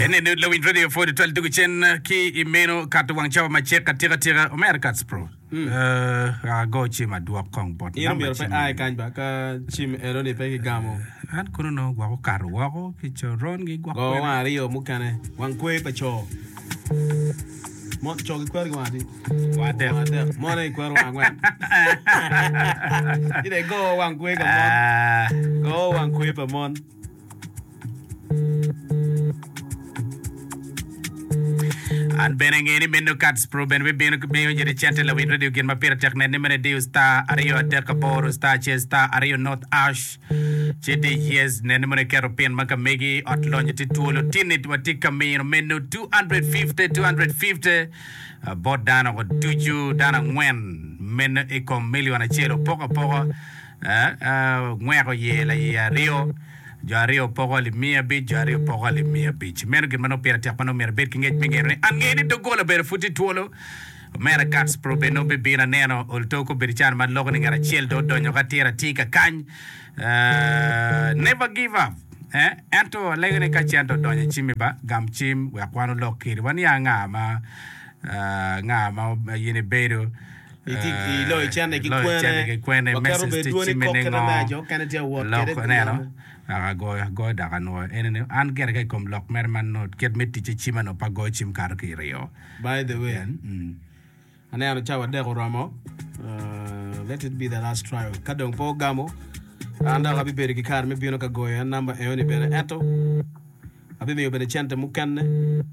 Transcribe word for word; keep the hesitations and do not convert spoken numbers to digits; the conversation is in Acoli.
Ene Lawiny Radio pwod twal dugu cen ki i meno kato wang cawa macek atika tika omera Kats Pro. Eh, ago cim adwok kong bot In namba omyero pe cim. a i kany ba ka cim eno-ni pe kigamo. An kono nongo gwok okato woko ki coron gi gwok Go kwene. wang aryo mukene, wang kwer pa co. Mon, co gikwero gi wang adi? Wang adek. Wang adek. Mon aye gikwero wang angwen. Ci dong igo wang kwer pa mon. Ah. Go wang kwer pa mon. An bene nge ni meno Kats Pro bene bibino ki miyo jede cente lawiny radio gin ma pire tek nen ni meno idiyo star aryo adek aboro star acel star aryo north ash ci di yes nen ni meno iketo pin ma ka megi ot lonyo tye twolo tini watye ka mino meno two hundred fifty two hundred fifty bot dano ducu dano angwen meno i kom million acel opoko apoka ngweko iye laiye aryo Jo aryo poko alip miya abic, jo aryo poko alip miya abic. Meno gin ma nongo pire tek ma nongo myero ibed ki ngec me ngeno ni an ngeyo ni doggola bene pud tye twolo. Omera Katz Pro bene nongo bibino aneno olto kobedo calo ma loko ni ngat acel dong odonyo ka tira tye ka kany. Eh, never give up. Eh, ento alego ni ka cente odonyo i cimmi ba, gam cim wek wan olok kedi. Waniang nga ma, eh, nga ma in ibedo. Iloyo cente ki kwene, waketo bene dwoni kok kite me jo okene tye ka wot kwede pi yamo. Agoyo agoyo dok anwoyo ene ni an gire ka i kom lok mere man nongo kit me ticce cim anongo pe agoyo cim kato ki iryo. By the way, aneno cawa adek oromo, let it be the last trial. Ka dong pe ogamo, an dok abibedo ki kare me bino ka goyo en namba enoni bene, ento abimiyo bene cente mukene.